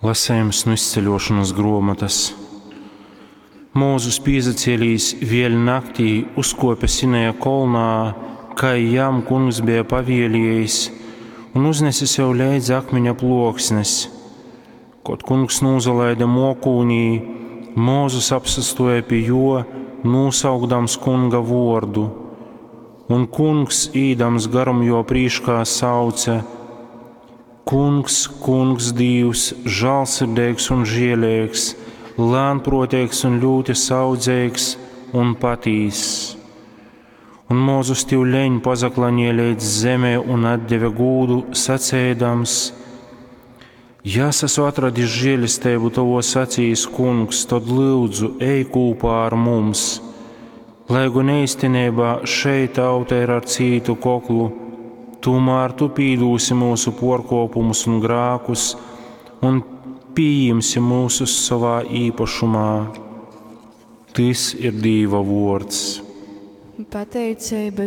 Lasejums nu Izceļošonas gruomotas. Mūzus pīsacēlīs vēļ naktī uzkuope Sinaja kolnā, kai jam kungs beja pavieliejis, un uznese sev leidzi akmeņa pluoksnes. Kod kungs nūsalaide muokūnī, Mūzus apsastuoja pi juo, nūsaukdams kunga vuordu. Un kungs, īdams garum juo prīškā, sauce: Kungs, kungs, Dīvs, žālsirdīgs un žēlīgs, lēnprātīgs un ļoti saudzīgs un patīss. Un Mūzus tivleņ pazaklaņīja leidz zemē un atdeva gūdu, sacēdams: Ja es esmu atradis žēlistību tavos acīs, kungs, tad lūdzu, ej kopā ar mums. Lai gan īstenībā šeit tauta ir ar cītu koklu, tomēr tu pīdūsi mūsu porkopumus un grākus un pieņemsi mūsus savā īpašumā. Tys ir Dīva vārds. Pateiceiba.